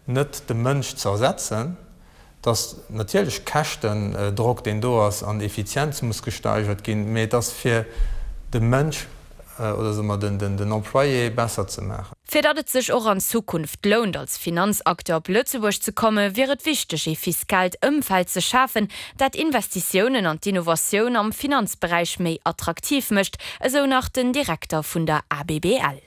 net de Mënsch ze ersetzen, dass natierlech Käschtendrock, deen do ass, an Effizienz muss gesteigert ginn, mee et ass fir de Mënsch oder soe mer den Employé besser ze maachen. Fir datt et sech och an Zukunft lount, als Finanzacteur op Lëtzebuerg ze kommen, wier et wichteg, ee fiskaalt Ëmfeld ze schafen, dat Investitiounen an d'Innovatioun am Finanzberäich méi attraktiv mécht, esou nach den Direkter vun der ABBL.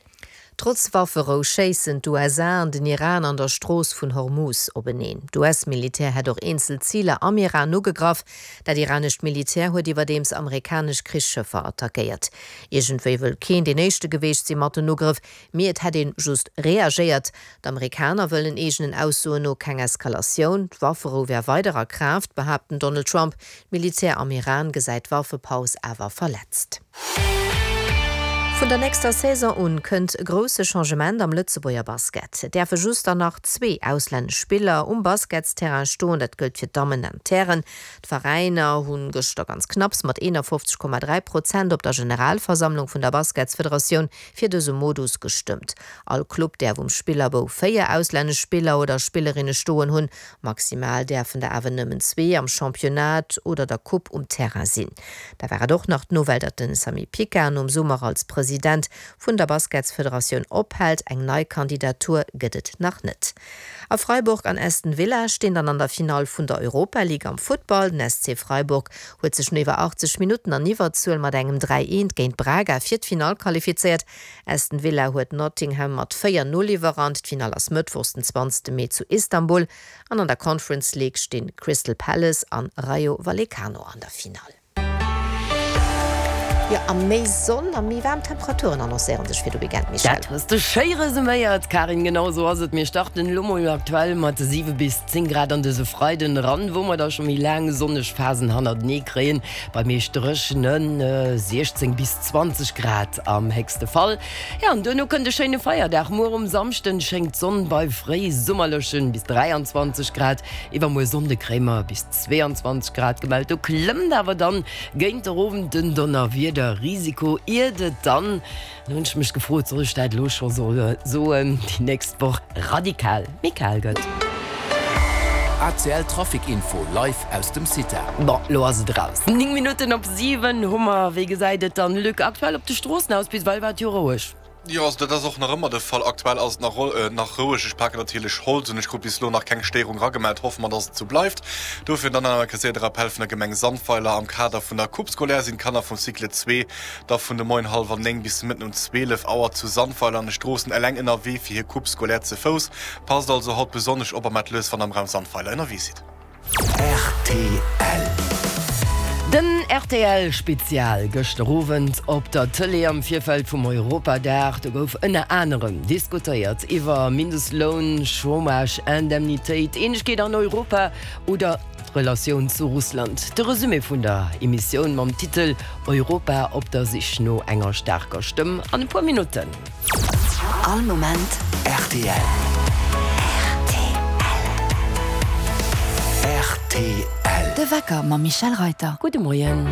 Trotz Wafferou schéissen d'USA an den Iran an der Strooss vun Hormuz openeen. D'US-Militär hätt och eenzel Ziler am Iran ugegraff. Dat iranescht Militär huet iwwerdeems amerikanesch Krichsschëffer attackéiert. Iergendwéi wëll keen deen éischte geweecht si mat den Ugrëff, mee et hätt een just reagéiert. D'Amerikaner wëllen eegenen Aussoen no keng Eskalatioun. D'Wafferou wär weider a Kraaft, behaapt den Donald Trump. D'Militär am Iran gesäit d'Waffepaus awer verletzt. Vun der nächster Saison un kënnt e grousse Changement am Lëtzebuerger Basket. Et däerfe just dann nach zwee auslännesch Spiller um Basketsterrain stoen, dat gëllt fir d'Dammen an d'Hären. D'Veräiner hu gëschter ganz knapps mat 51,3 Prozent op der Generalversammlung vun der Basketsfederatioun fir dëse Modus gestëmmt. All Club däerf um Spillerbou 4 auslännesch Spiller oder Spillerinne stoen hunn. Maximal däerfen der awer nëmmen zwee am Championnat oder der Coupe um Terrain sinn. Da war et och nach d'Nouvelle, datt de Samy Picard nom Summer als President vun der Basketsfederatioun ophält. Eng nei Kandidatur gëtt et nach net. A Freiburg an Aston Villa stinn dann an der Finall vun der Europa League am Futtball. Den SC Freiburg huet sech no iwwer 80 Minutten an Iwwerzuel mat engem 3, 1 géint Braga fir d'Finall qualifizéiert. Aston Villa huet Nottingham mat 4, 0 iwwerrannt. D'Finall ass mëttwochs den 20 Mee zu Istanbul an an der Conference League stinn Crystal Palace an Rayo Vallecano an der Finall. Jo, a méi Sonn a méi waarm Temperaturen annoncéiere sech fir de Weekend, Michèle. Dat hues de schéi resuméiert, Karin. Genau esou ass et. Mir starten elo mol aktuell mat 7 bis 10 Grad an dëse Freiden eran, wou mer da scho méi laang sonneg Phasen hannertenee kréien, bei meescht dréchene 16 bis 20 Grad am héchste Fall. Jo, an duerno kënnt e schéine Feierdag. Muer um Samschden schéngt d'Sonn bei fréisummerlechen bis 23 Grad. Iwwermuer Sonnde kréie mer bis 22 Grad gemellt. Do klëmmt awer dann géint der Owend den Donnerwiederrisiko, iert et dann, do hunn ech mech gefrot, soll ech dat elo scho soen, déi nächst Woch radikal méi kal gëtt. ACL Trafic Info live aus dem CITA. Bon, lo ass et eraus. 9 Minutten op 7 hu mer. Wéi gesäit et dann, Luc, aktuell op de Stroossen aus? Bis ewell war et jo roueg. Jo, also dat ass och nach ëmmer de Fall. Aktuell ass et nach nach roueg. Ech paken natierlech Holz un. Ech krut bis elo nach keng Stéierung eragemellt. Hoffe mer, dass et esou bleift. Dofir dann nach eng Kéier de Rappell vun der Gemeng Sandweiler, Am Kader vun der Coupe scolaire sinn d'Kanner vum Cycle 2 da vun de Moien hallwer 9 bis de Mëtten um 12 Auer zu Sandweiler an de Stroossen eleng ënnerwee fir hir Coupe scolaire ze Fouss. Passt also haut besonnesch op a maacht lues, wann der am Raum Sandweiler ënnerwee sidd. Rtl. Den rtl Spezial gëschter Owend op der Tëlee am Virfeld vum Europadag. Do gouf ënner anerem diskutéiert iwwer Mindestloun, Chômage, Indemnitéit, Eenegkeet an Europa oder d'Relatioun zu Russland. De Resumé vun der Emissioun mam Titel Europa op der Sich no enger staarker Stëmm an e puer Minutten. All Moment rtl. Rtl. De Wecker mam Michèle Reyter. Gudde Moien.